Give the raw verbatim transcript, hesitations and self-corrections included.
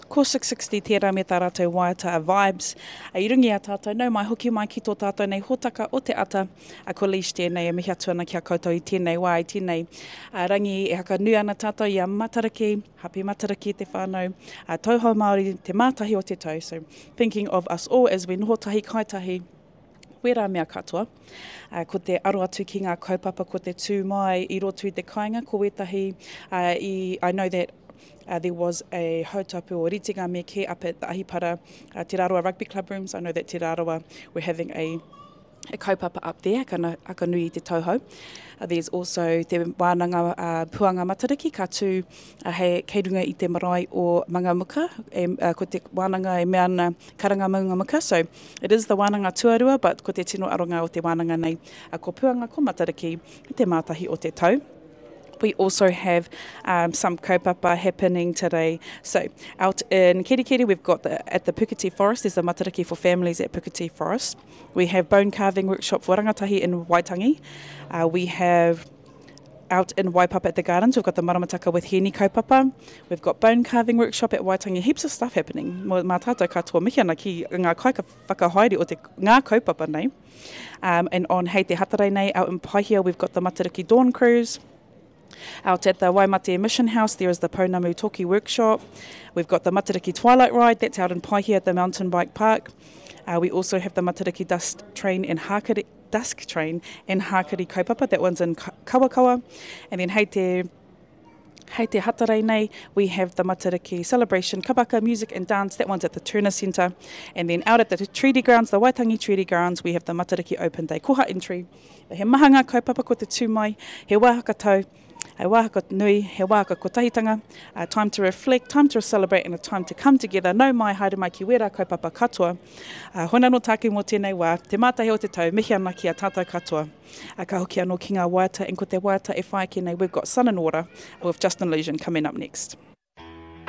Ko six sixty tērā me tā rātou waiata a Vibes. I runga i a tātou, nau mai hoki mai ki tō tātou nei hōtaka o te ata. A ko Leish tēnei e mihi atu ana ki a koutou i tēnei wā, i tēnei a rangi e hakanui ana tātou i a Matariki, Happy Matariki te whānau, a Tauhou Māori, te mātahi o te tau. So thinking of us all as we noho tahi kai tahi, wērā mea katoa. Uh, ko te aro atu ki ngā kaupapa, ko te tū mai i roto i te kāinga, ko wētahi, uh, i, I know that Uh, there was a hautapu or ritenga me ke up at the Ahipara, uh, Te Rarawa Rugby Club rooms. I know that Te Rarawa were having a, a kaupapa up there, aka, aka nui i te tauhou. Uh, there's also te wānanga uh, Puanga Matariki, ka tū uh, hei, kei runga i te marae o Mangamuka, e, uh, ko te wānanga e mea ana karanga Mangamuka. So it is the wānanga tuarua, but ko te tino aronga o te wānanga nei. Uh, ko Puanga, ko Matariki, te mātahi o te tau. We also have um, some kaupapa happening today. So out in Kerikeri, we've got the, at the Puketi Forest, there's a Matariki for families at Puketi Forest. We have bone carving workshop for rangatahi in Waitangi. Uh, we have out in Waipapa at the gardens, we've got the Maramataka with Heni kaupapa. We've got bone carving workshop at Waitangi. Heaps of stuff happening. Mā tātou katoa mihi ana ki ngā kaika whakahaere o te ngā kaupapa nei. Um, and on Hei Te Hatarei nei, out in Paihia, we've got the Matariki Dawn Cruise. Out at the Waimate Mission House, there is the Pounamu Toki Workshop. We've got the Matariki Twilight Ride, that's out in Paihia at the Mountain Bike Park. Uh, we also have the Matariki Dust Train in Hakari, Dusk Train in Hakari Kaupapa, that one's in Kawakawa. And then hei te, hei te Hatarei nei, we have the Matariki Celebration Kabaka Music and Dance, that one's at the Turner Centre. And then out at the Treaty Grounds, the Waitangi Treaty Grounds, we have the Matariki Open Day Koha Entry. He maha ngā kaupapa ko te tū mai, he wā hakatau, he wā nui, he wā kotahitanga, uh, time to reflect, time to celebrate, and a time to come together. Nau mai, haere mai ki wērā kaupapa katoa. Uh, hona no tāku mō tēnei wā, te mātahi o te tau, mihi ana ki a tātou katoa. Uh, ka hoki anō ki ngā waiata, and ko te waiata e whai ake nei, we've got Son and Order with Justin Illusion coming up next.